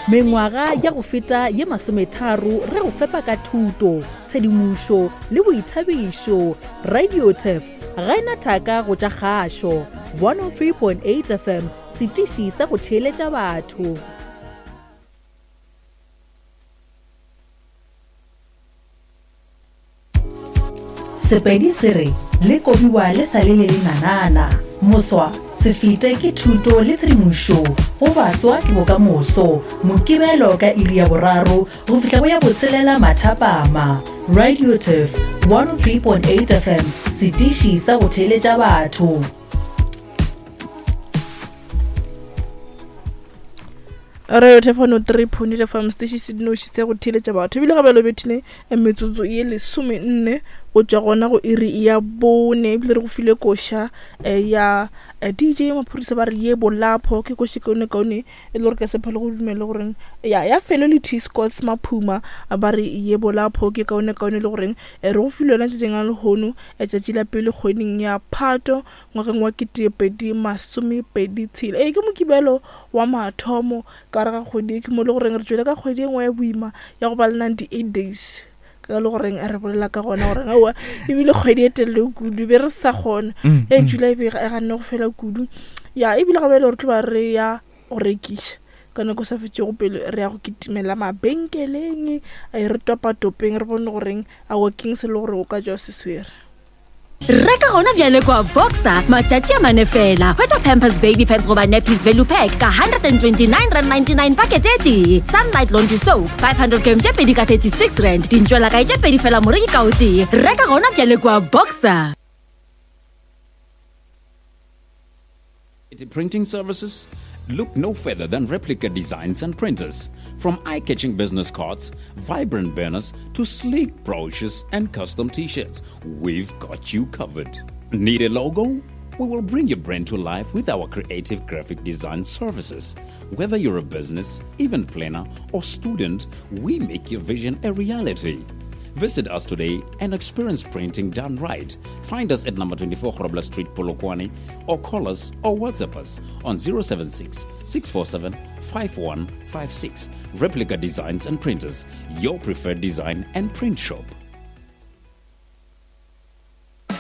Mengwaga ya go feta ye masometharo re go fepa ka thuto, tshedimošo le boithabišo. Radioturf ga e na thaka go tša kgašo. 103.8 FM, setiši sa go theeletša batho. Sepedi se re le kobiwa le sa le le lenanana. Moswa, se fete ke thuto le tshedimošo go baswa ke bokamoso. Mokibelo ka iri ya boraro go fihla go ya botshelela mathapama. Radio Turf 103.8 FM, setiši sa go theeletša batho. Radio Thefano 3.8 FM station se dinoši se go theeletša batho ebile gape lobethile eh, metsotso ye lesomenne go tšwa gona go iri ya bone ebile re go file koša eh, ya eh, dj maphodisa ba re ye bolapho ke koše kaone kaone e le gore ka sepha le go dumele goreng ya ya felo le t scotts maphuma ba re ye bolapho ke kaone kaone le goreng re go file yona tšatšing la lehono tšatši la pele kgweding ya phato ngwageng wa 2026. Ee, ke Mokibelo wa mathomo ka gare ga kgwedi e, ke mo le goreng re tšwele ka kgwedi e nngwe ya boima ya go ba le 98 days ka le goreng re bolela ka gona goreng aowa ebile kgwedi e telele kudu be re sa kgona mm, e mm. July e be e ganne go fela kudu ya ebile ga bjale re tlo ba re ya go rekiša ka nako sa fetšego pele re ya go kitimela mabenkeleng re topatopeng re bone goreng aowa keng se le gore o ka jwa se swere. Reka gona bjale kwa Boxer matšatši a mane fela. Hwetša Pampers Baby Pads goba Nappies Value Pack ka R129.99 pakete e tee. Sunlight Laundry Soap 500 gram tše pedi ka R36. Dintšwelakae tše pedi fela moreki ka o tee. Reka gona bjale kwa Boxer. Printing services? Look no further than Replica Designs and Printers. From eye catching business cards, vibrant banners, to sleek brochures and custom t shirts, we've got you covered. Need a logo? We will bring your brand to life with our creative graphic design services. Whether you're a business, event planner, or student, we make your vision a reality. Visit us today and experience printing done right. Find us at number 24 Grobler Street, Polokwane, or call us or WhatsApp us on 076 647 5156. Replica Designs and Printers, your preferred design and print shop.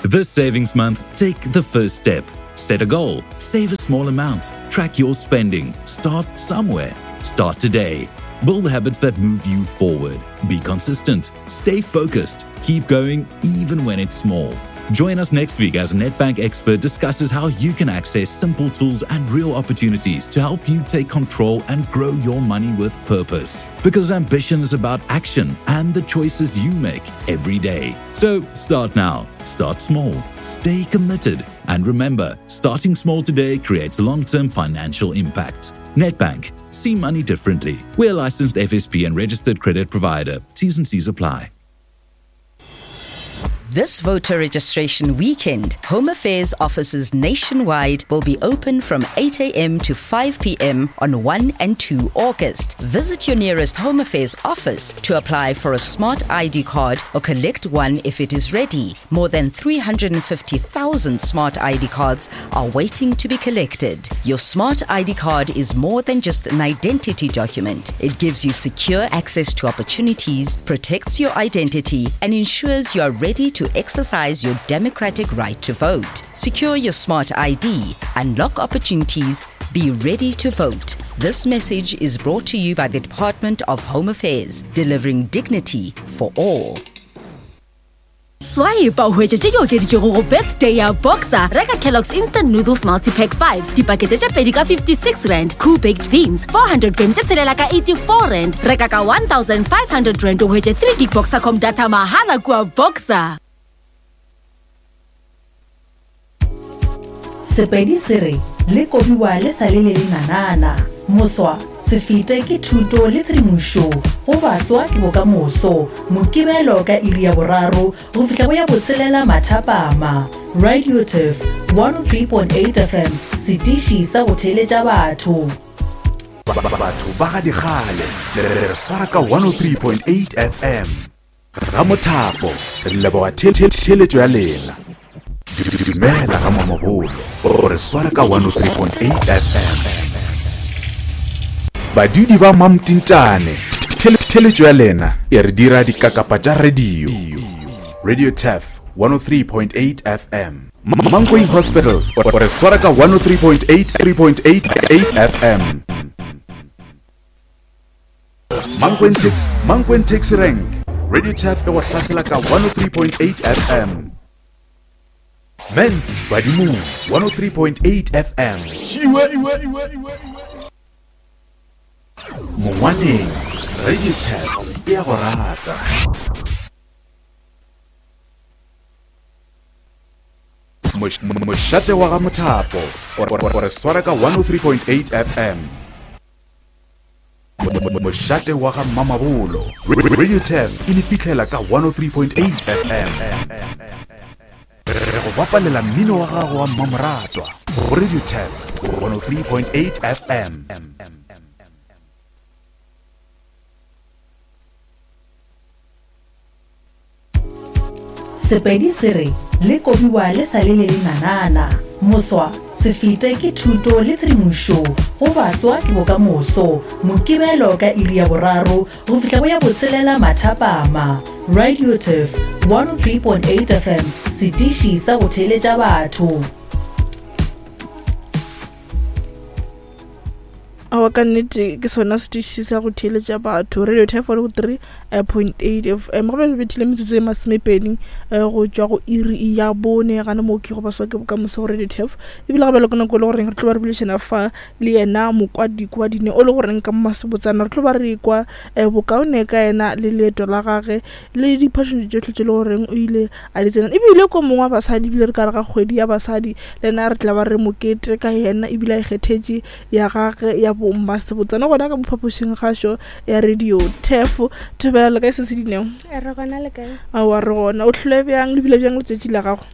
This savings month, take the first step. Set a goal, save a small amount, track your spending, start somewhere. Start today. Build habits that move you forward. Be consistent, stay focused, keep going even when it's small. Join us next week as a Nedbank expert discusses how you can access simple tools and real opportunities to help you take control and grow your money with purpose. Because ambition is about action and the choices you make every day. So start now, start small, stay committed, and remember starting small today creates long term financial impact. Nedbank, see money differently. We're a licensed FSP and registered credit provider. T's and C's apply. This voter registration weekend, Home Affairs offices nationwide will be open from 8 a.m. to 5 p.m. on 1 and 2 August. Visit your nearest Home Affairs office to apply for a smart ID card or collect one if it is ready. More than 350,000 smart ID cards are waiting to be collected. Your smart ID card is more than just an identity document. It gives you secure access to opportunities, protects your identity, and ensures you are ready to exercise your democratic right to vote. Secure your smart ID, unlock opportunities, be ready to vote. This message is brought to you by the Department of Home Affairs, delivering dignity for all. Swipe o hwetše tše di okeditšwego go birthday ya Boxer. Reka Kellogg's Instant Noodles Multipack 5s dipakete tše pedi ka 56 rand, Koo Baked Beans 400 gram tše tshelela ka 84 rand. Reka ka 1500 rand o hwetše 3 gig Boxercom data mahala kua Boxer. Sepedi se re le kobiwa le sa le le lenanana. Moswa, se fete ke thuto le tshedimošo go baswa ke bokamoso. Mokibelo ka iri ya boraro go fihla go ya botshelela mathapama. Radio Turf 103.8 FM, setiši sa go theeletša batho. Batho ba ga dikgale le re swara ka 103.8 FM. Ramothapo, re leboga theeletšo ya lena. Dumela ga Mamabolo, o re swara ka 103.8 FM. Badudi ba Mamtintane, theletšo ya lena e re dira dikakapa tša radio. Radio Turf 103.8 FM. Mankweng Hospital o re swara ka 103.8 3.88 FM. Mankweng Taxi, Mankweng Taxi Rank, Radio Turf e go hlasela ka 103.8 FM. Mens Badimong 103.8 FM. Mongwaneng, Radio Turf e a go rata. Mošate wa ga Mothapo o re swara ka 103.8 FM. Mošate wa ga Mamabolo, Radio Turf e le fihlela ka 103.8 FM. Re go bapalela mmino wa gago wa mmamoratwa go Radio Turf 103.8 FM. Sepedi se re le kobiwa le sa le le lenanana. Moswa, se fete ke thuto le tshedimošo go baswa ke bokamoso. Mokibelo ka iri ya boraro go fihla go ya botshelela mathapama. Radio Turf 103.8 FM, setiši sa go theeletša batho. Aowa ka nnete ke sona setiši sa go theeletša batho radio type go 3.8 fm go be le bethile metsotso e masomepedi eh, go tšwa go iri ya bone gane moo ke go baswa ke bokamoso go radio tef ebile gape le ka nako e le goreng re tlo ba re bolešana fa le yena mokwadi kwa dine o le goreng ka masebotsana re tlo ba re kwa eh, bokaone ka yena le leeto la gage le diphašono tšohle tše le goreng o ile a di tsena ebile ko mongwe wa basadi ebile re ka re ga kgwedi ya basadi le ena re tla ba re mokete ka yena ebile a ikgethetše ya gage ya bommasebotsana gona ka mophapošing gašo ya radio tef thobela le kae se se dineo re gona le kae aowa re gona o tlhole bjang le bile bjang letšatši la gago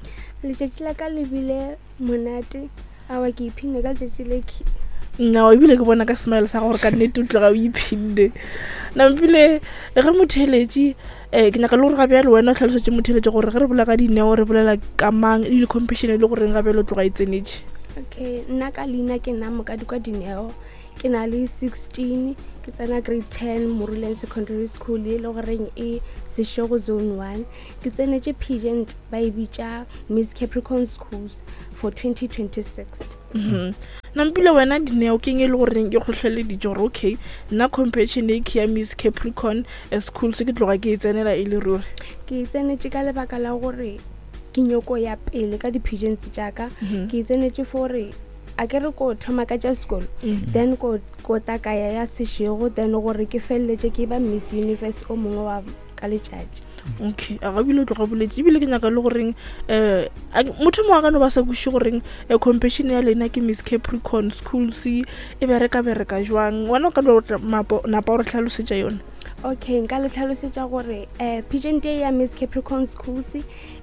letšatši la ka le bile monate aowa ke iphinne ka letšatši le nao ebile ke bona ka smile sa gore ka nnete o tloga o iphinne nampile ge motheeletši um ke nyaka le gore ga bjale wena o tlhalosetše motheeletši gore ge re bolela ka dineo re bolela ka mang le di-competition e le goreng ga bjale o tloga e tsenetše okay nna ka leina ke nna mokadi kwa dineo ke na le 16 ke tsena grade 10 moruleng secondary school e le goreng e sešego zone 1 ke tsenetše pageant ba e bitša miss capricorn schools for 2026 Mhm. Nampile wena Dineo keng e le goreng ke kgohleleditše gore okay nna competition e ke ya Miss Capricorn eh, school se ke tloga ke e tsenela e le ruri ke e tsenetše ka lebaka la gore ke nyoko ya pele ka di-pigeons tša ka Mhm. ke e tsenetše fore a ke re ko thoma ka tša sekolo Mhm. then ko ko takaya ya sešego then gore ke feleletše ke ba miss universe o mongwe wa ka letšatši okay a ga bile o tloga boletse ebile ke nyaka le goreng um motho mongwe a ka no ba sa kweše goreng um competition ya lena ke miss capricorn schools e bereka bereka jwang wena o ka no napa o re tlhalosetša yone okay nka le tlhalosetša gore um pageant e ya miss capricorn schools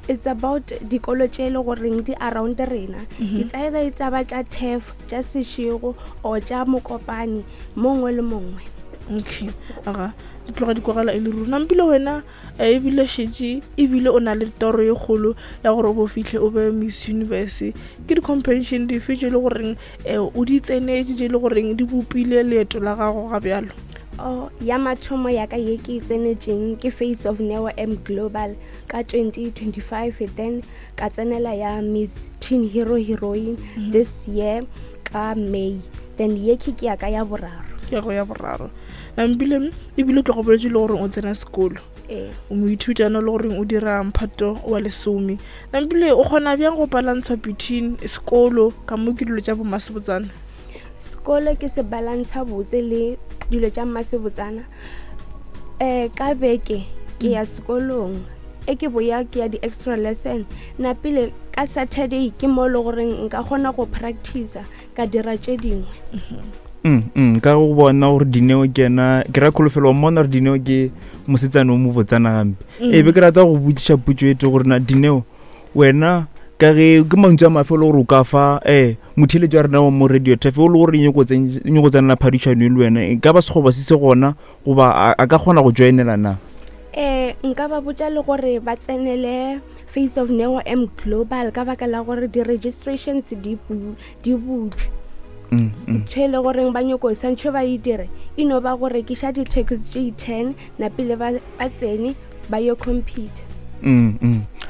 it's about dikolo tše e le goreng di around rena Mhm. it's either e tsa ba tša tef tša sešego or tša mokopane mongwe le mongwe okay aga di tloga di kwagala e le ruri nampile wena eh, ebile šetše ebile o na le toro ye kgolo ya gore o bo fitlhe o be miss universe ke di-competition dife tše e le goreng um o di tsenetše tše e le goreng di bopile leeto la gago ga bjalo Oh, ya mathomo ya ka ye ke e tsenetšeng ke face of neo m global ka 2025 then ka tsenela ya miss teen hero heroine mm -hmm. this year ka may then ye ke ke ya ka ya boraro ke ya go ya boraro nampile ebile o tloga boletse le goreng o tsena sekolo ee o moithutana le goreng o dira mphato wa lesome nampile o kgona bjang go balantshwa between sekolo ka mo ke dilo tša bomasebotsana sekolo ke se balantsha botse le dilo tša mmasebotsana um ka beke ke ya sekolong e ke boya ke ya di-extra lesson napile ka saturday ke mo e le goreng nka kgona go practicer ka dira tše dingwe Ka go bona gore Dineo ke yena ke ra kholofelo wa mmona gore Dineo ke mosetsana o mo botsana gampe e be ke rata go botšiša potso e te gore na Dineo wena ka ge ke mantšu a mafe o le gore o ka fa um motheeletši wa rena wa mo radio tafe o le gore nyako tsenela phadišano e le wena e ka ba sekgoba se se gona goba a a ka kgona go joinela na um nka ba botša le gore ba tsenele face of neo m global ka baka la gore di-registrations di bu- di butšwe. Ntho e le goreng ba nyoko santšho ba e dire e no ba go rekiša di-taxi tše 10 napile ba tsene ba yo compete.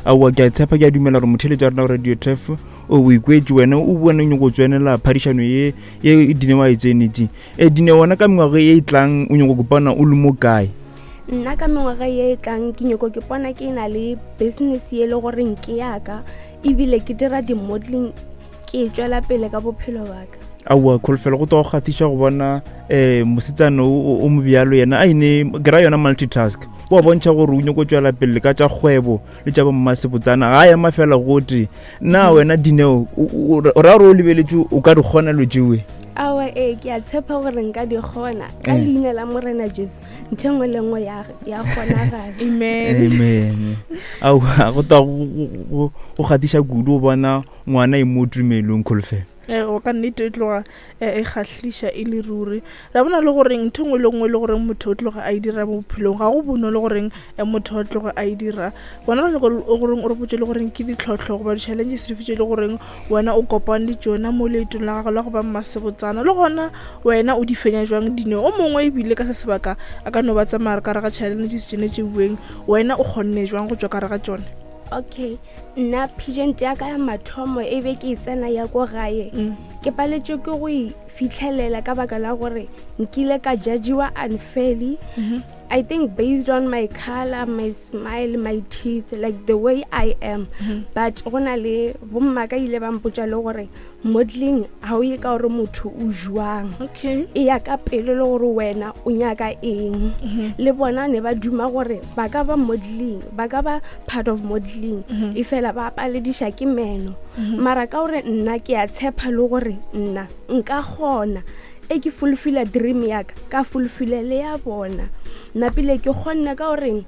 Aowa, ke a tshepa, ke a dumela gore motheletši wa rena wa Radio Turf o ikwetše wena o bone nyoko tswenela phadišano ye ye Dine wa e tsenetše. E Dine, wena ka mengwaga ye e tlang o nyoko kopana o le mo kae? Nna ka mengwaga ye e tlang ke nyoko ke pona ke na le business ye le goreng ke yaka, ebile ke dira di-modeling, ke tšwela pele ka bophelo baka. Aowa, kholofelo go tlo go kgathiša go bona um mosetsana o mobjalo yena a ene ke ra yona multitask, o a bontšha gore o nyako tšwela pele ka tša kgwebo le tša bommasebotsana, ga a ema fela gote. Na wena Dineo o ra gore o lebeletše o ka di kgona lo tšewe? Aowa, ee, ke a tshepa gore nka di kgona ka leina la Morena Jesu. Ntho e nngwe le nngwe ya kgonagala. Amen. Amen. Aowa, go tla go kgathiša kudu go bona ngwana e mo tumelong, kholofelo. O ka nnete e tloga e kgahliša e le ruri. Ra bona le goreng ntho nngwe le nngwe le goreng motho o tloga a e dira mo bophelong ga go bonolo goreng motho o tloga a e dira. Bona re nyaka goreng o re botse le goreng ke ditlhohlo goba di-challenges dife tše le goreng wena o kopane le tšona mo leetong la gago la go ba mmasebotsana, le gona wena o di fenya jwang dino. O mongwe ebile ka se sebaka a ka no ba tsamaya ka re ga challenges tšene tše bueng, wena o kgonne jwang go tšwa ka re ga tšone? Okay, nna pageant ya ka ya mathomo e be ke e tsena ya ko gae, ke paletswe ke go e fitlhelela ka baka la gore nkile ka judgiwa unfairly. I think based on my color, my smile, my teeth, like the way I am. But go na le bomma ka ile ba mpotša le gore modeling ga o ye ka gore motho o jwang. E ya ka pelo le gore wena o nyaka eng. Le bona ne ba duma gore ba ka ba modeling, ba ka ba part of modeling. E fela ba palediša ke meno. Mara ka gore nna ke a tshepa le gore nna nka kgona, e ke fulfilla dream ya ka, ka fulfilla le ya bona. Napile ke kgonne ka goreng,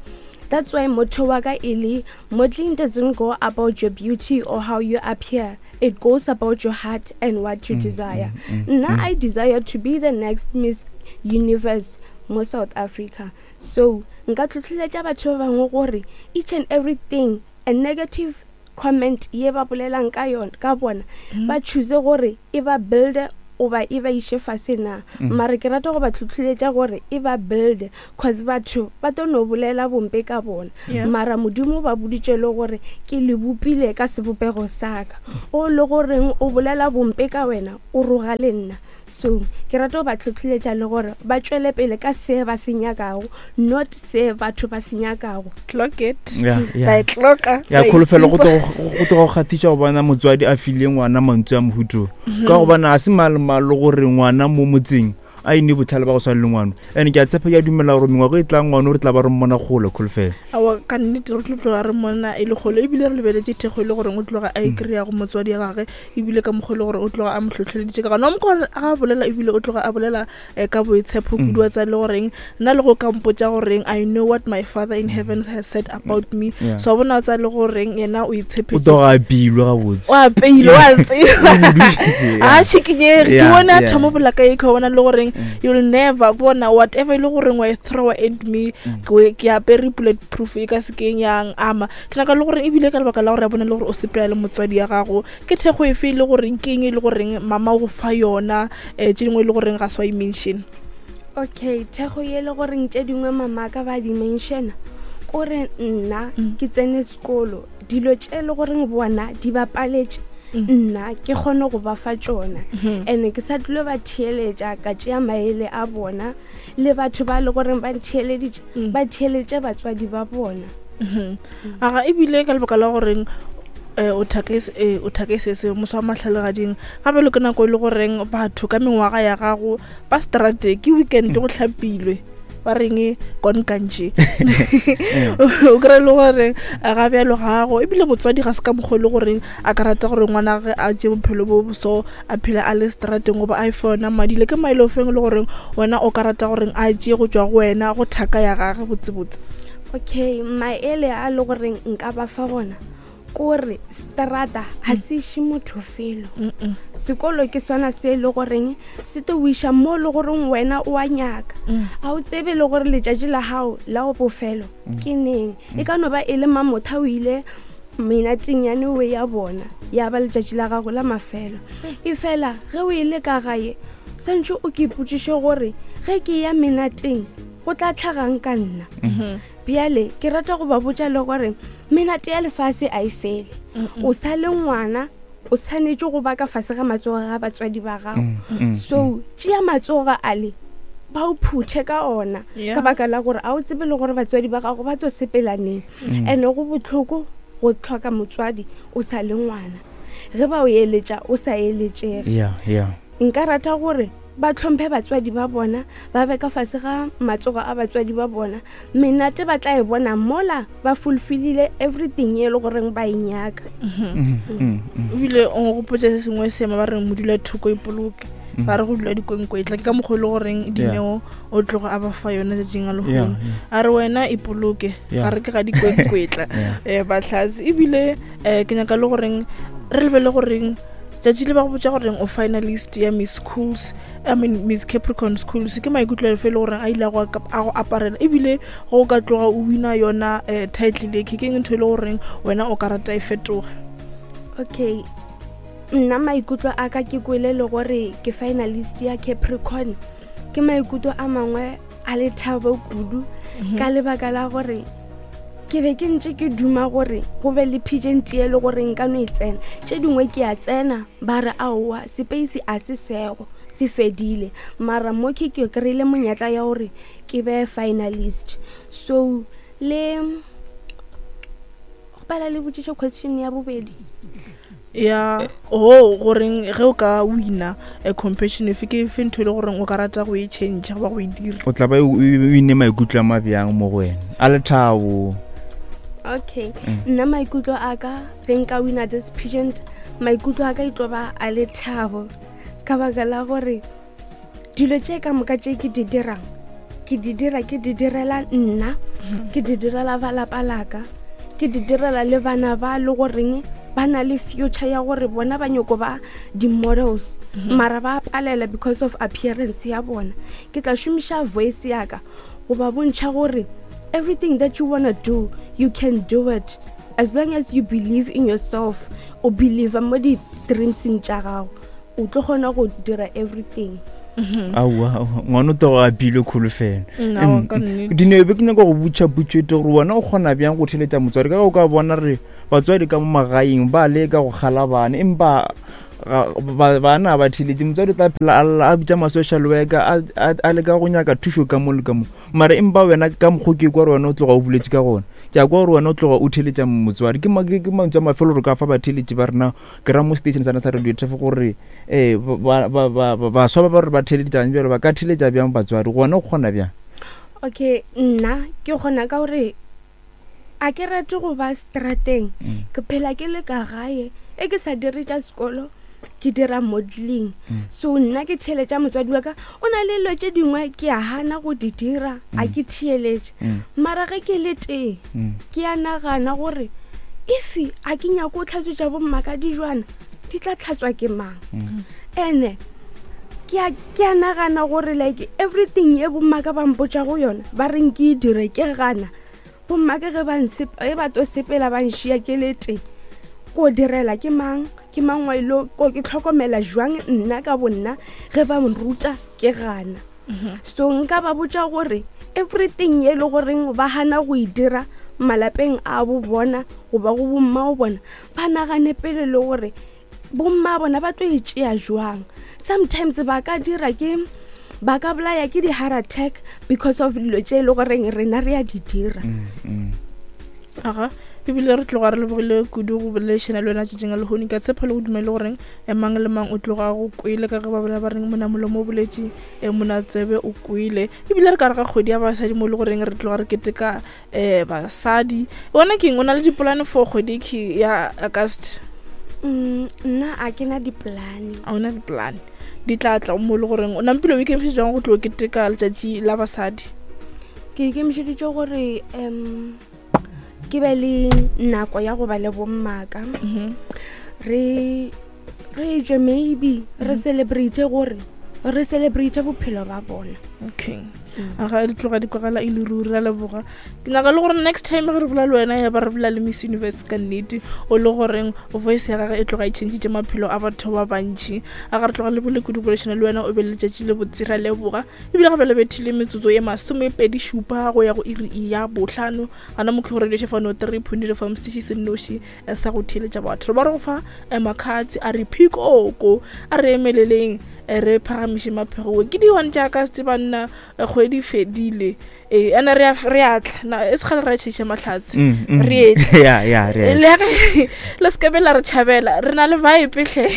that's why motho wa ka e le modeling doesn't go about your beauty or how you appear, it goes about your heart and what you desire. Nna I desire to be the next Miss Universe mo South Africa. So nka tlhotlheletša batho ba bangwe gore each and everything a negative comment ye ba bolelang ka yona ka bona, ba choose gore e ba builde goba e ba iše fase na. Mara ke rata go ba tlhotlheletša gore e ba builde, cause batho ba tlo no bolela bompe ka bona. Mara Modimo ba boditše le gore ke le bopile ka sebopego sa ka, o le goreng o bolela bompe ka wena o roga le nna. So ke rata go ba tlhotlheletša le gore ba tšwele pele ka se ba se nyakago, not se batho ba se nyakago. Clock it. Ra e clocka. Ya, kholofelo go tloga go kgathiša go bona motswadi a file ngwana mantswe a mohuto, ka gobane a se malomalo gore ngwana mo motseng a ine botlhale ba go swana le ngwano. And ke a tshepa, ke a dumela gore mengwago e tlang ngwano re tla ba re mmona kgole, kholofelo. Aowa, ka nnete re tlo tloga re mmona e le kgole, ebile re lebeletše thekgo e le goreng o tloga a e kry-a go motswadi ya gage, ebile ka mokgwa e le gore o tloga a mo hlohleleditše ka gona. O mokgwa ga a bolela, ebile o tloga a bolela ka boitshepo kudu, wa tsaya le goreng nna le go ka mpotša goreng I know what my father in heaven has said about me. So wa bona o tsaya le goreng yena o O itshepetse, tloga a apeilwe gabotse, o apeile, wa tseba, Bodutše, a šikinyege. Ke bone a thoma bola ka eke, wa bona le goreng you'll never bona whatever e le goreng wa e throw at me, ke apere bullet proof e ka se keng yang ama. Ke nyaka le gore ebile ka lebaka la gore ya bona le gore o sepela le motswadi ya gago, ke thekgo efe e le goreng ke eng e le goreng mama o go fa yona, tše dingwe e le goreng ga se wa e mention? Okay, thekgo ye le goreng tše dingwe mama ka ba di mentiona, kore nna ke tsene sekolo, dilo tše le goreng bona di bapaletše nna ke kgone go ba fa tšona. And ke sa tlilo ba theeletša, ka tšea maele a bona le batho ba le goreng ba ntheeleditše, ba theeletše batswadi ba bona. Aga ebile ka lebaka la goreng o thake o thake se se moswa wa mahlalagading gape le ke nako e le goreng batho ka mengwaga ya gago ba strate ke weekend go hlapilwe ba reng konkantše, o kry le gore ga bjalo gago ebile motswadi ga se ka mokgwa e le goreng a ka rata gore ngwana ge a tše bophelo bo so a phela a le strateng goba a efe yona madi le ke maele ofeng le goreng wena o ka rata goreng a tšee go tšwa go wena go thaka ya gage botsebotse? Okay, maele a le goreng nka ba fa gona kore strata ga se iše motho felo. Sekolo ke sona se e le goreng se tlo o iša mo le goreng wena o a nyaka. Ga o tsebe le gore letšatši la gago la go bofelo ke neng, e ka no ba e le mamotha o ile. Menateng ya newe ya bona ya ba letšatši la gago la mafelo. Efela ge o e le ka gae, santše o ke ipotšiše gore ge ke ya menateng go tla tlhagang ka nna. Bjale ke rata go ba botša le gore menate ya lefase a e fele. O sa le ngwana, o swanetše go ba ka fase ga matsogo ga batswadi ba gago. So tšea matsogo ale ba o phuthe ka ona ka baka la gore a o tsebe le gore batswadi ba gago ba tlo sepela neng. And go bohloko go hloka motswadi o sa le ngwana, ge ba o eletša o sa eletšege. Nka rata gore ba hlomphe batswadi ba bona, ba be ka fase ga matsogo a batswadi ba bona. Menate ba tla e bona mola ba fulfillile everything e le goreng ba e nyaka. Ebile o nkgopotša se sengwe seema ba reng modula thoko ipoloke, ba re go dula dikwenkwetla. Ke ka mokgwa e le goreng Dineo o tloga a ba fa yona tšatšing a lehono, a re wena ipoloke, ga re ke ga dikwenkwetla um bahlatse. Ebile um ke nyaka le goreng re lebele goreng tšatši le ba go botša goreng o finalist ya Miss Schools, I mean Miss Capricorn Schools, ke maikutlo a fe le goreng a ile a go aparela? Ebile go ka tloga o wina yona um title e, ke keng ntho e le goreng wena o ka rata e fetoge? Okay, nna maikutlo a ka ke kwele le gore ke finalist ya Capricorn, ke maikutlo a mangwe a lethabo kudu, ka lebaka la gore ke be ke ntše ke duma gore go be le pageant e le gore nka no e tsena. Tše dingwe ke a tsena, ba re aowa, space a se sego, se fedile, mara mo ke ke kry-ile monyetla ya gore ke be finalist. So le gopela le botšišo question ya bobedi ya o goreng ge o ka wina a competition efe, ke efe ntho e le goreng o ka rata go e change goba go e dira? O tla ba o ine maikutlo a mabjang mo go wena a lethabo? Okay, nna maikutlo a ka ge nka wina this pageant, maikutlo a ka e tlo ba a lethabo, ka baka la gore dilo tše ka moka tše ke di dirang, ke di dira, ke di direla nna, ke di direla ba lapa laka, ke di direla le bana ba le goreng ba na le future ya gore bona ba nyoko ba di-models, mara ba palela because of appearance ya bona. Ke tla šomiša voice ya ka go ba bontšha gore everything that you wanna do, you can do it as long as you believe in yourself, o believe mo di-dreamseng tša gago, o tlo kgona go dira everything. Aowa, ngwana o togo a bilwe kholofelo. Nna, ka nnete. Dineo, be ke nyaka go botša potšo e tee gore wena o kgona bjang go theletša motswadi, ka ge o ka bona re batswadi ka mo magaeng ba leka go kgala bana, empa bana ba theletše. Motswadi o tla phela a lla, a bitša ma-social worker, a leka go nyaka thušo ka mo le ka mo, mara empa wena ka mokgwa ke kwa gore wena o tloga o boletše ka gona, ke a kwa gore wena o tloga o theletša motswadi. Ke mantswe a mafelo gore ka fa batheletši ba rena, ke ra mo station sana sa radio Turf, gore um baswa ba ba re ba theletšang bjalo ba ka theletša bjang batswadi? Gona o kgona bjang? Okay, nna ke kgona ka gore a ke rate go ba strateng, ke phela ke le ka gae, e ke sa dire tša sekolo, ke dira modeling. So nna ke theeletša motswadi wa ka. O na le dilo tše dingwe ke a gana go di dira, a ke theeletše, mara ge ke le tee ke a nagana gore if a ke nyako o tlhatswetša bomma ka dijwana, di tla tlhatswa ke mang? Ene ke a nagana gore like everything ye bomma ka ba mpotša go yona, ba reng ke e dire, ke gana, bomma ke ge ge ba to sepela ba nšia ke le tee, ko direla ke mang? Ke mang wa ilo ko ke tlhokomela jwang nna ka bonna ge ba nruta ke gana? So nka ba botša gore everything ye le goreng ba gana go e dira malapeng a bo bona goba go bomma o bona, ba nagane pele le gore bomma bona ba tlo e tšea jwang. Sometimes ba ka dira ke ba ka bolaya ke di-heart attack because of dilo tše e le goreng rena re a di dira. Aga, ebile re tloga re lebogile kudu go boledišana le wena tšatšing a lehono. Ka tshepa le go dumele goreng mang le mang o tloga go kwele, ka ge ba bolela ba reng mona molomo o boletše, mona tsebe o kwele. Ebile re ka re ga kgwedi ya basadi mo e le goreng re tloga re keteka um basadi. Wena keng o na le dipolane for kgwedi ke ya August? Nna a ke na dipolane. A ona dipolane, di tla tla mo e le goreng o nampile o ikemišetše jang go tlo keteka letšatši la basadi? Ke ikemišeditše gore um ke be le nako ya go ba le bommaka, re tšwe, maybe re celebrate gore Re celebrate bophelo ba bona. Okay, a ga di tloga di kwagala e le ruri. Ra leboga. Ke nyaka le gore next time ge re bola le wena, ya ba re bola le Miss Universe ka nnete, o le goreng voice ya gage e tloga e changitše maphelo a batho ba bantšhi. A ga re tloga le bole kudu bolešana le wena, o be le letšatši le botse. Ra leboga. Ebile gape le bethile metsotso ye 27 go ya go iri ya 5 gana mokhi go radio šefano 3 point fm, setiši se nnoši sa go theeletša batho. Re ba re go fa makgatsi a re phikoko, a re emeleleng, re phagamiše maphego. Ke di-one tša ka se banna, kgwedi fedile, ee, ene re a tla na e segale ra tšheiša mahlatse. Re etle. Ya, ya, re a le ge le se ke be la re tšhabela, re na le vibe hle.